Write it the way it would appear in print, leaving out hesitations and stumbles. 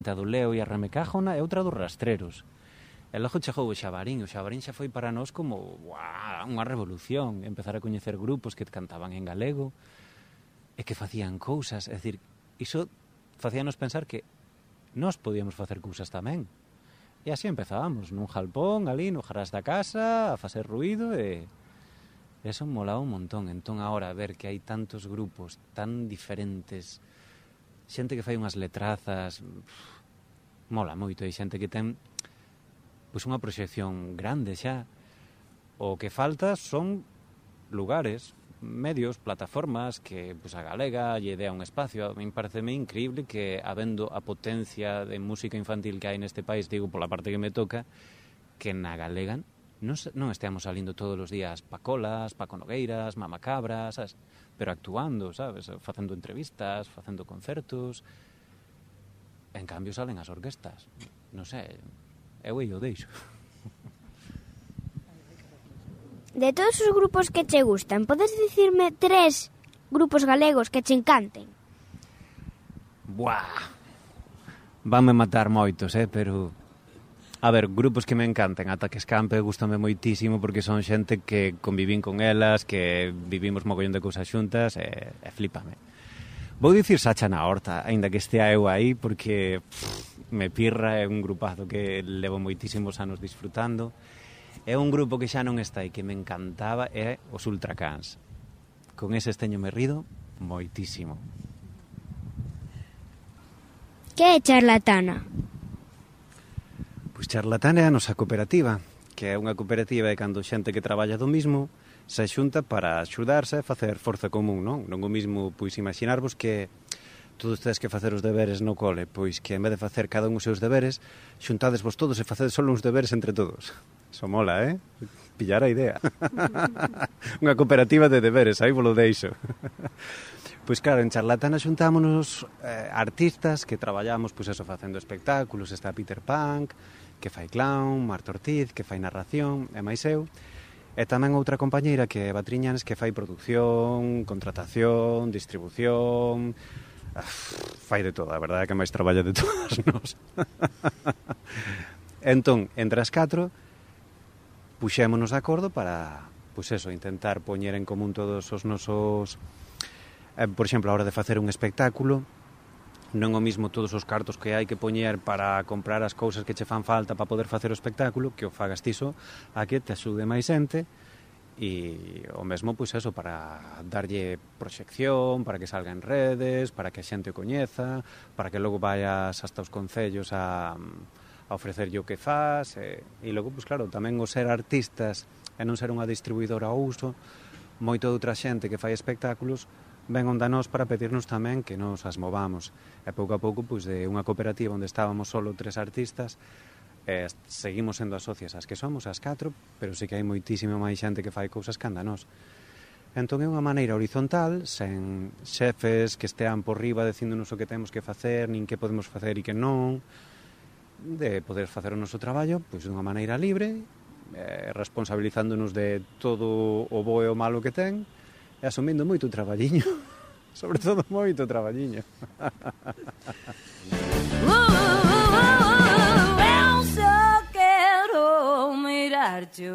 A do Leo e a Ramecájona e outra dos Rastreros. E logo chegou o Xabarín xa foi para nós como unha revolución, empezar a coñecer grupos que cantaban en galego e que facían cousas, é dicir, iso facíanos pensar que nós podíamos facer cousas tamén. E así empezábamos, nun jalpón, ali, no jarás da casa, a facer ruído e eso molaba un montón. Entón, agora, ver que hai tantos grupos tan diferentes, xente que fai unhas letrazas, mola moito, e xente que ten pois unha proxección grande xa. O que falta son lugares, medios, plataformas que pois a galega lle dea un espacio. A min pareceme increíble que, habendo a potencia de música infantil que hai neste país, digo pola parte que me toca, que na galega non esteamos salindo todos os días Pacolas, Paco Nogueiras, Mama Cabra, sabes? Pero actuando, sabes? Facendo entrevistas, facendo concertos. En cambio salen as orquestas. Non sei, eu o deixo. De todos os grupos que che gustan, podes dicirme 3 grupos galegos que che encanten? Buah! Vanme matar moitos, pero... A ver, grupos que me encanten, ata que escampe, gustame moitísimo porque son xente que convivín con elas, que vivimos mogollón de cousas xuntas e flipame. Vou dicir Sacha na Horta, aínda que estea eu aí, porque me pirra, é un grupazo que levo moitísimos anos disfrutando. É un grupo que xa non está e que me encantaba, é os Ultracans. Con eses teñome rido moitísimo. Que é Charlatana? Pois Charlatana é a nosa cooperativa, que é unha cooperativa de cando xente que traballa do mismo se xunta para axudarse a facer forza común, non? Non o mismo, pois, imaginarvos que todos tedes que facer os deberes no cole, pois que en vez de facer cada un os seus deberes, xuntadesvos todos e facedes só uns deberes entre todos. Iso mola, Pillar a idea. Unha cooperativa de deberes, aí vos lo deixo. Pois claro, en Charlatana xuntámonos artistas que traballamos, pois eso, facendo espectáculos. Está Peter Punk, que fai clown, Marta Ortiz, que fai narración, e máis eu. E tamén outra compañeira que é Batriñanes, que fai producción, contratación, distribución... fai de todo, a verdade é que máis traballa de todas nós. Entón, entre as 4, puxémonos de acordo para, pois eso, intentar poñer en común todos os nosos... por exemplo, a hora de facer un espectáculo, non o mismo todos os cartos que hai que poñer para comprar as cousas que che fan falta para poder facer o espectáculo, que o fagas tiso a que te axude máis xente, e o mesmo, pois eso, para darlle proxección, para que salga en redes, para que a xente o coñeza, para que logo vayas hasta os concellos a ofrecerlle o que faz, e logo, pois claro, tamén o ser artistas e non ser unha distribuidora ao uso, moito de outra xente que fai espectáculos ven onda nós para pedirnos tamén que nos as movamos. E pouco a pouco, pois, de unha cooperativa onde estábamos solo 3 artistas, seguimos sendo as socias as que somos, as 4, pero sí que hai moitísima máis xente que fai cousas que anda nós. Entón é unha maneira horizontal, sen xefes que estean por riba dicíndonos o que temos que facer, nin que podemos facer e que non, de poder facer o noso traballo, pois, dunha maneira libre, responsabilizándonos de todo o bo e o malo que ten, e asumindo moito traballiño, sobre todo moito traballiño. Eu só quero mirar-te